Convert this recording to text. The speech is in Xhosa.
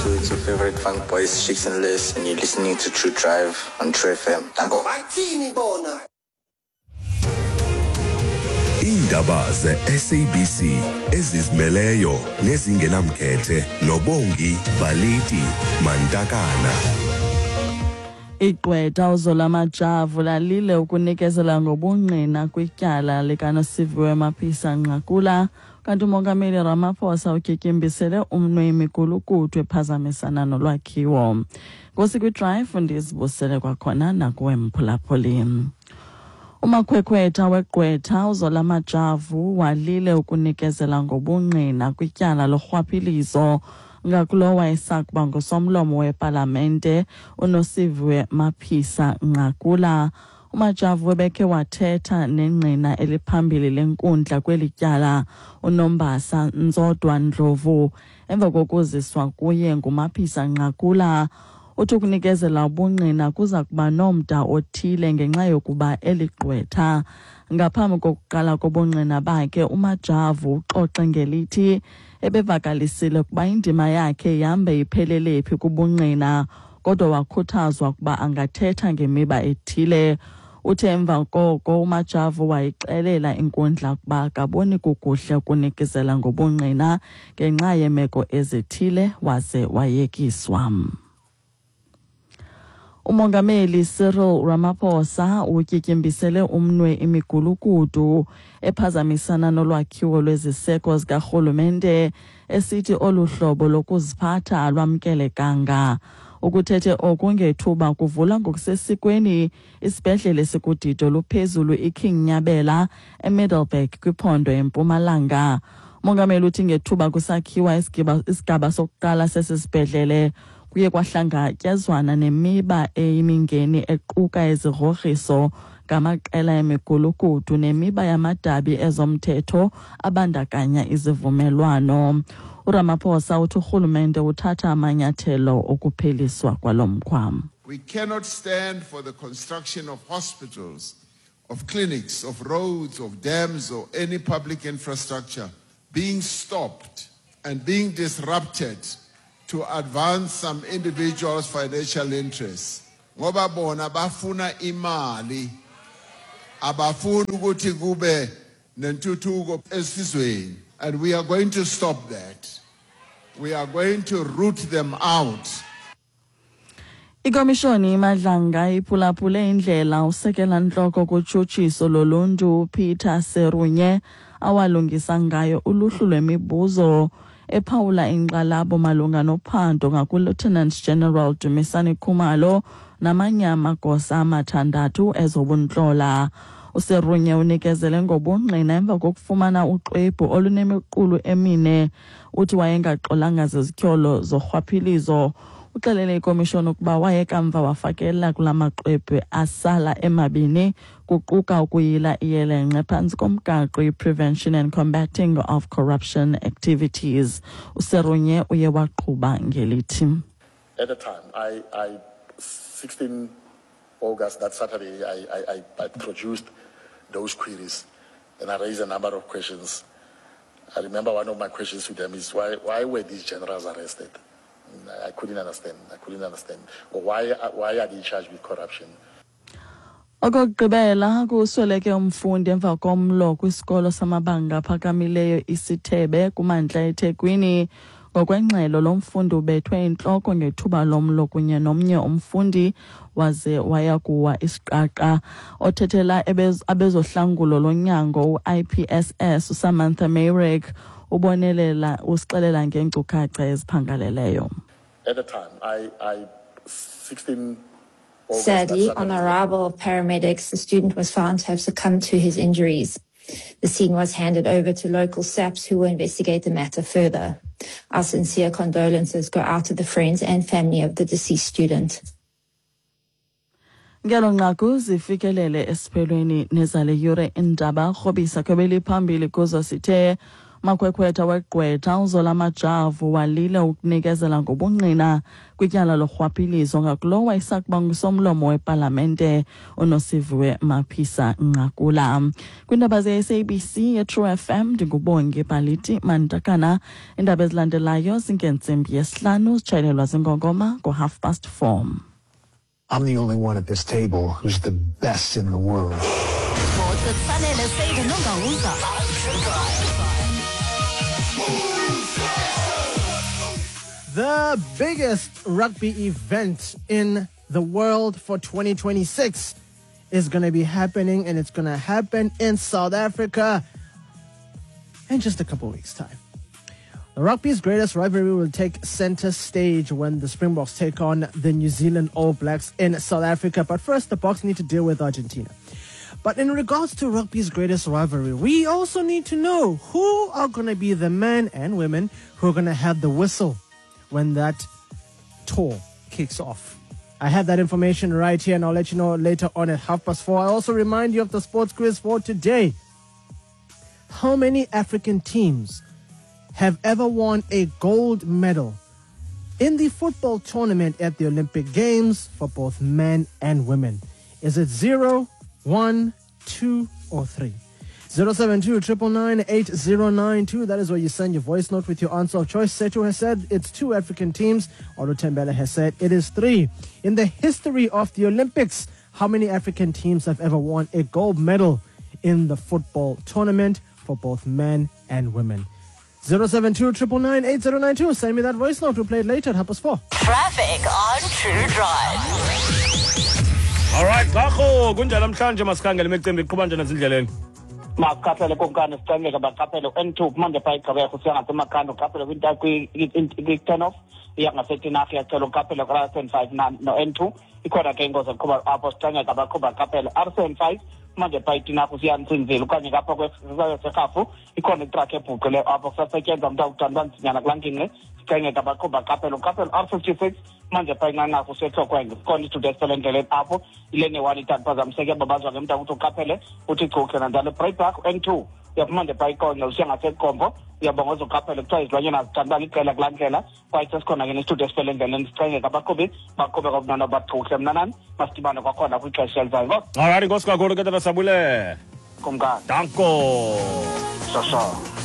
True. It's your favorite funk boys, Shicks and Liz, and you're listening to True Drive on True FM. Danko. Bathini bona? Iindaba ze-SABC ezizimeleyo nezingenamkhethe noBongi Baliti Mantakana. Igqwetha uZola Majavu lalile ukunikezela ngobungqina kwityala likaNosiviwe Mapisa Nqakula, kanti uMongameli Ramaphosa utyityimbisele umnwe imigulukudu ephazamisana nolwakhiwo. Nkosi kwiDrive, ndizibusele kwakhona nakuwe mphulaphuli. Umakhwekhwetha wegqwetha uZola Majavu walile ukunikezela ngobungqina kwityala lorhwaphilizo ngakulo wayesakuba ngusomlomo wepalamente uNosiviwe Maphisa Nqakula. UMajavu ebekhe wathetha nengqina eliphambili lenkundla kweli tyala uNombasa Ntsodwa Ndlovu emva kokuziswa kuye nguMaphisa Nqakula. Uthi ukunikezela ubungqina kuza kuba nomda othile ngenxa yokuba eligqwetha. Ngaphambi kokuqala kobungqina bakhe, uMajavu uxoxe ngelithi ebevakalisile ukuba indima yakhe ihambe iphelele phi kubungqina, kodwa wakhuthazwa ukuba angathetha ngemiba ethile. Uthe emva koko uMajavu wayixelela inkundla ukuba akaboni kukuhle ukunikezela ngobungqina ngenxa yeemeko ezithile, waze wayekiswa. Umongameli Cyril Ramaphosa utyityimbisele umnwe imigulukudu ephazamisana nolwakhiwo lweziseko zikarhulumente, esithi olu hlobo lokuziphatha alwamkelekanga. Ukuthethe oku ngethuba kuvula ngokusesikweni isibhedlele esikudidi oluphezulu iKing Nyabela eMiddelburg kwiphondo eMpumalanga. Umongameli uthi ngethuba kusakhiwa isigaba sokuqala sesi sibhedlele kuye kwahlangatyezwana nemiba eyimingeni equka izigrogriso ngamaqela emigulukudu nemiba yamadabi ezomthetho abandakanya izivumelwano. URamaphosa uthi urhulumente uthatha amanyathelo okupheliswa kwalo mkhwa. We cannot stand for the construction of hospitals, of clinics, of roads, of dams, or any public infrastructure being stopped and being disrupted to advance some individuals' financial interests. Ngoba bona bafuna imali, abafuni ukuthi kube nentuthuko esizweni. And we are going to stop that. We are going to root them out. Ikomishoni iMadlanga iphulaphule indlela usekela ntloko kutshutshiso loluntu Peter Serunye awalungisa ngayo uluhlu lwemibuzo ephawula inkxalabo malunga nophando ngakuLieutenant General Dumisani Khumalo namanye amagosa amathandathu ezobuntlola. USerunye unikezele ngobungqina emva kokufumana uxwebhu olunemiqulu emine. Uthi wayengaxolanga zizityholo zorhwaphilizo. Uxelele ikomishoni ukuba waye kamva wafakela kula maxwebhu asala emabini, kuquka ukuyila iyelenqe phantsi komgaqo i-Prevention and Combating of Corruption Activities. USerunye uye waqhuba ngelithi: At the time, I 16 August, that Saturday, I produced those queries and I raised a number of questions. I remember one of my questions to them is why were these generals arrested? I couldn't understand. I couldn't understand. Or why are they charged with corruption? Okokugqibela, kusweleke umfundi emva komlo kwisikolo samabanga aphakamileyo iSithebe kumantla eThekwini. Ngokwengxelo, lo mfundi ubethwe intloko ngethuba lomlo kunye nomnye umfundi waze waya kuwa isiqaqa. Othethela abezohlangulo lonyango u-IPSS uSamantha Meyrick ubonelela usixelela ngeenkcukacha eziphangaleleyo. At the time, I 16 August, Sadly, that on Saturday, arrival of paramedics, the student was found to have succumbed to his injuries. The scene was handed over to local SAPS, who will investigate the matter further. Our sincere condolences go out to the friends and family of the deceased student. Ngelo nqaku zifikelele esiphelweni nezale yure indaba. Rhobisa kwebeliphambili kuzo sithe: Makhwekhwetha wegqwetha uZola Majavu walile ukunikezela ngobungqina kwityala lorhwaphilizo ngakulo wayesakuba ngusomlomo wepalamente uNosiviwe Mapisa Nqakula. Kwiindaba ze-SABC yeTrue FM, ndinguBongi Baliti Mantakana. Iindaba ezilandelayo zingentsimbi yesihlanu, zitshayelelwa zingongoma ngo-4:30. I'm the only one at this table who's the best in the world. Kufanele Save Nongawuza. The biggest rugby event in the world for 2026 is going to be happening, and it's going to happen in South Africa in just a couple weeks' time. The rugby's greatest rivalry will take center stage when the Springboks take on the New Zealand All Blacks in South Africa. But first, the Boks need to deal with Argentina. But in regards to rugby's greatest rivalry, we also need to know who are going to be the men and women who are going to have the whistle when that tour kicks off. I have that information right here, and I'll let you know later on at 4:30. I also remind you of the sports quiz for today. How many African teams have ever won a gold medal in the football tournament at the Olympic Games for both men and women? Is it 0, 1, 2, or 3? 072 999 8092. That is where you send your voice note with your answer of choice. Setu has said it's 2 African teams. Otto Tembele has said it is 3. In the history of the Olympics, how many African teams have ever won a gold medal in the football tournament for both men and women? 072 999 8092. Send me that voice note. We'll play it later at 4:30. Traffic on True Drive. Alright, Gago, kunjani namhlanje? Masikhangele imicimbi iqhuba njani ezindleleni. Maqaphele kumkani, sicameka baqaphele N2 kumanje pha igqibeko usiya ngasemakhanda, uqaphele kwi-turn off iya ngasetinarha, iyacela uqaphele ku-R75 no-N2. Ikhona ke ingozi eqhuba apho, sicameka baqhuba qaphele R75 manje pha itinarha usiya Ntsinzile okanye ngapha kweserhafu, ikhona itrakhi ebhuqileyo apho, kusasetyenzwa mntu akuthanda uba nzinyana kulaa ngingqi, sicengeka baqhuba qaphele. Uqaphele R56 manje pha inqanqarha useTlokwenge, sikhona isithuthi esifele endleleni apho, ilene 1 ithathu phazamiseke, babazwa ke mntu ukuthi uqaphele uthi chuhle nanjalo. Breakback N2 uyaphuma nje pha ikonye usiya ngasekombo, uyabongoza uqaphele, kuthiwa izilwanyana zithanda uba liqela kulaa ndlela, kwaye sesikhona ke nesithuthi esifele endleleni, sicengeka abaqhubi baqhube komnana bachuhle. Mnanani, masidibane kwakhona kwixesha elizayo. Alright, inkosi kakhulu ke tata Sabule. Kumkani. Danko. Shosho.